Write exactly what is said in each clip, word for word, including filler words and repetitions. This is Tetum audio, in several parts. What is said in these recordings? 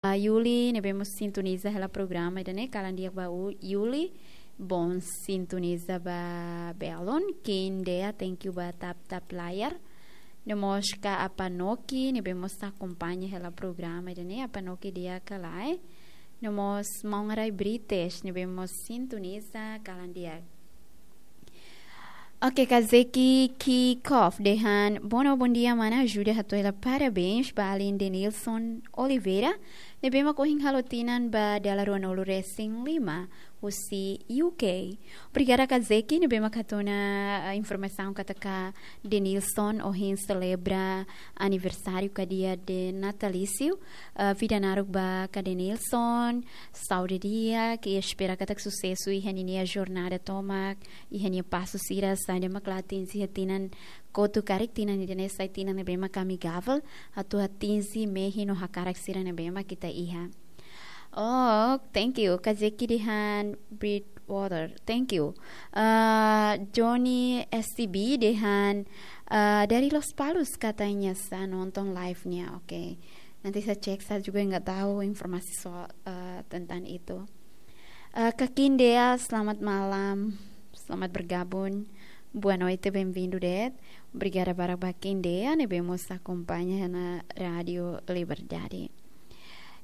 Yuli, ne'ebé mós sintoniza hela programa ida-ne'e, kalan di'ak ba Yuli, bom sintoniza ba belun, Kindea, thank you ba tap tap layar. No mós ka Apanoki, ne'ebé mós akompaña hela programa ida-ne'e, Apanoki di'ak ka lae. No mós maun Arai Brites, ne'ebé mós sintoniza, kalan di'ak. Oke, Kazeki Kikof dehan, boa, bom dia, mana, ajuda hato'o hela parabéns ba alin Denilson Oliveira, ne'ebé mak ohin halo tinan ba dala ruanulu resin lima, husi U K. Obrigada, Kazeki, ne'ebé mak hatún ona, eh, informasaun katak Denilson ohin selebra aniversáriu ka dia de natalísiu. Eh, vida naruk ba ka Denilson, saúde di'ak, i espera katak susesu iha ninia jornada tomak, iha nia pasu sira, saida mak la atinje iha tinan kotuk karik, tinan ida-ne'e sai tinan ne'ebé mak amigável, atu atinje mehi no hakarak sira ne'ebé mak ita iha. Oh, thank you. Kazeki dehan Bridgewater. Thank you. Ah, Johnny S C B dehan, ah, dari Lospalos katanya sa nonton live-nya. Oke. Nanti saya cek, saya juga nggak tahu informasi soal, eh, tentang itu. Eh, Kak Indea, selamat malam. Selamat bergabung. Boa noite, bem-vindo de'it. Obrigada barak ba Kak Indea, ne'ebé mós akompaña na Rádio Liberdade.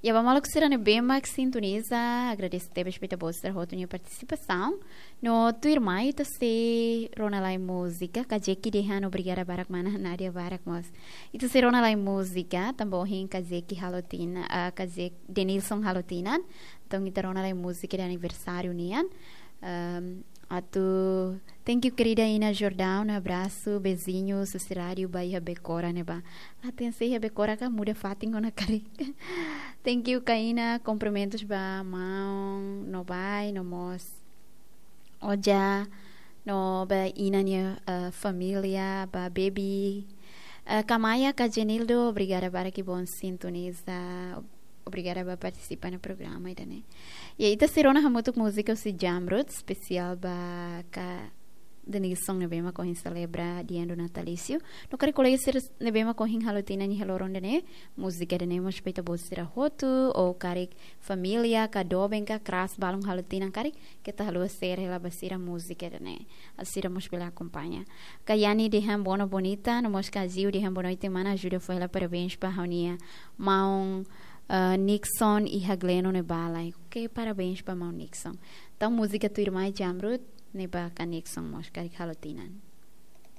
Ya, ba maluk sira ne'ebé mak sintoniza, agradese tebes ba ita-boot sira hotu nia partisipasaun. No tuirmai ita sei rona lai múzika, Kazeki dehan obrigada barak mana Nadia barak mós. Ita sei rona lai múzika, tanba ohin Kazeki halo tinan, ah, Kazeki Denilson halo tinan. Entaun ita rona lai múzika de aniversáriu nian. Ahm, atu, thank you, querida Ina Jordão, um abraço, beijinhos, husi rádiu ba iha Becora ne'ebá. Atensi iha Becora ka muda fatin ona karik. Thank you, Kaina, kumprimentus ba maun, no bai, no mós Oja, no ba Ina nia, eh, família, ba baby. Eh, Kamaya, ka Jenildo, obrigada barak, bom sintoniza. Obrigada ba partisipa na programa ida-ne'e. Ya, ita sei rona hamutuk múzika husi Jamrud, espesiál ba ka Denilson ne'ebé mak ohin selebra dia do natalísiu. No karik kolega sira ne'ebé mak ohin halo tinan iha loron ida-ne'e, múzika ida-ne'e mós ba ita-boot sira hotu, ou karik família, ka doben ka kras balun halo tinan karik, keta haluha share hela ba sira múzika ida-ne'e. Atu sira mós bele akompaña. Kayani dehan boa noite bonita, no mós Kaziu dehan boa noite mana, ajuda fó hela parabéns ba ha'u-nia maun, eh, Nixon iha Gleno ne'ebá lai. Oke, parabéns ba maun Nixon. Entaun múzika tuirmai Jamrud, ne'ebá ka Nixon mós karik halo tinan.